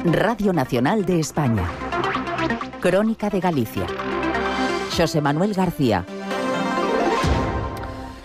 Radio Nacional de España. Crónica de Galicia. Xosé Manuel García.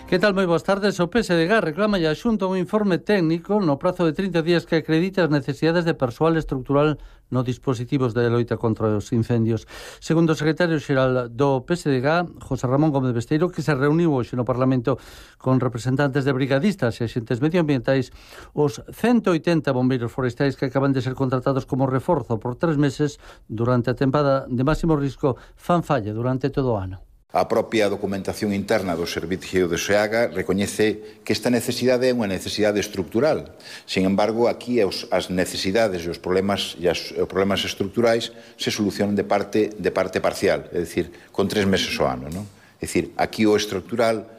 Que tal? Moi boas tardes. O PSDG reclama a Xunta un informe técnico no prazo de 30 días que acredite as necesidades de persoal estructural no dispositivos de loita contra os incendios. Segundo o secretario xeral do PSDG, José Ramón Gómez Besteiro, que se reuniu hoxe no Parlamento con representantes de brigadistas e axentes medioambientais, os 180 bombeiros forestais que acaban de ser contratados como reforzo por 3 meses durante a tempada de máximo risco fan falla durante todo o ano. A propia documentación interna do Servicio de SEAGA recoñece que esta necesidade é unha necesidade estructural. Sin embargo, aquí as necesidades e os problemas estructurais se solucionan de parte parcial, é dicir, con 3 meses ao ano, non? É dicir, aquí o estructural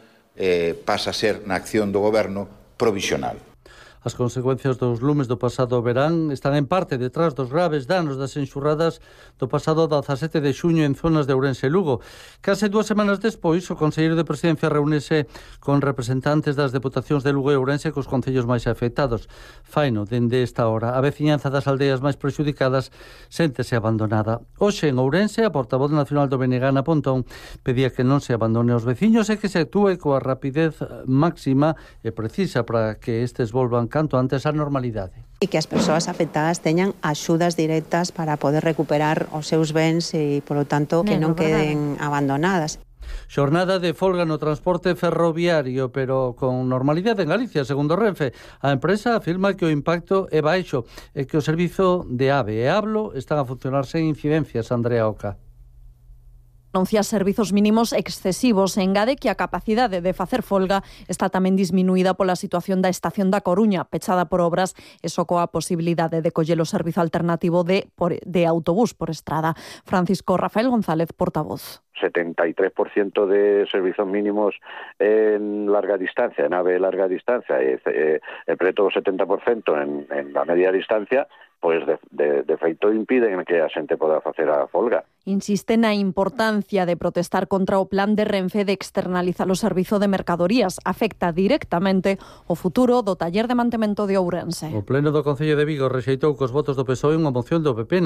pasa a ser, na acción do Goberno, provisional. As consecuencias dos lumes do pasado verán están en parte detrás dos graves danos das enxurradas do pasado 17 de xuño en zonas de Ourense e Lugo. Case 2 semanas despois, o Conselleiro de Presidencia reúnese con representantes das deputacións de Lugo e Ourense cos concellos máis afectados. Faino, dende esta hora, a veciñanza das aldeas máis prexudicadas séntese abandonada. Hoxe en Ourense, a portavoz nacional do BNG, Ana Pontón, pedía que non se abandone aos veciños e que se actúe coa rapidez máxima e precisa para que estes volvan canto antes á normalidade. E que as persoas afectadas teñan axudas directas para poder recuperar os seus bens e, polo tanto, que non queden abandonadas. Xornada de folga no transporte ferroviario, pero con normalidade en Galicia, segundo Renfe. A empresa afirma que o impacto é baixo e que o servizo de AVE e Hablo están a funcionar sen incidencias. Andrea Oca. Anuncia servizos mínimos excesivos e engade que a capacidade de facer folga está tamén disminuída pola situación da estación da Coruña, pechada por obras e só coa posibilidade de coller o servizo alternativo de autobús por estrada. Francisco Rafael González, portavoz. 73% de servizos mínimos en larga distancia, en AVE larga distancia, e preto o 70% en la media distancia, pois de feito impiden que a xente poda facer a folga. Insiste na importancia de protestar contra o plan de Renfe de externalizar o servizo de mercadorías. Afecta directamente o futuro do taller de mantemento de Ourense. O Pleno do Concello de Vigo rexeitou cos votos do PSOE unha moción do PP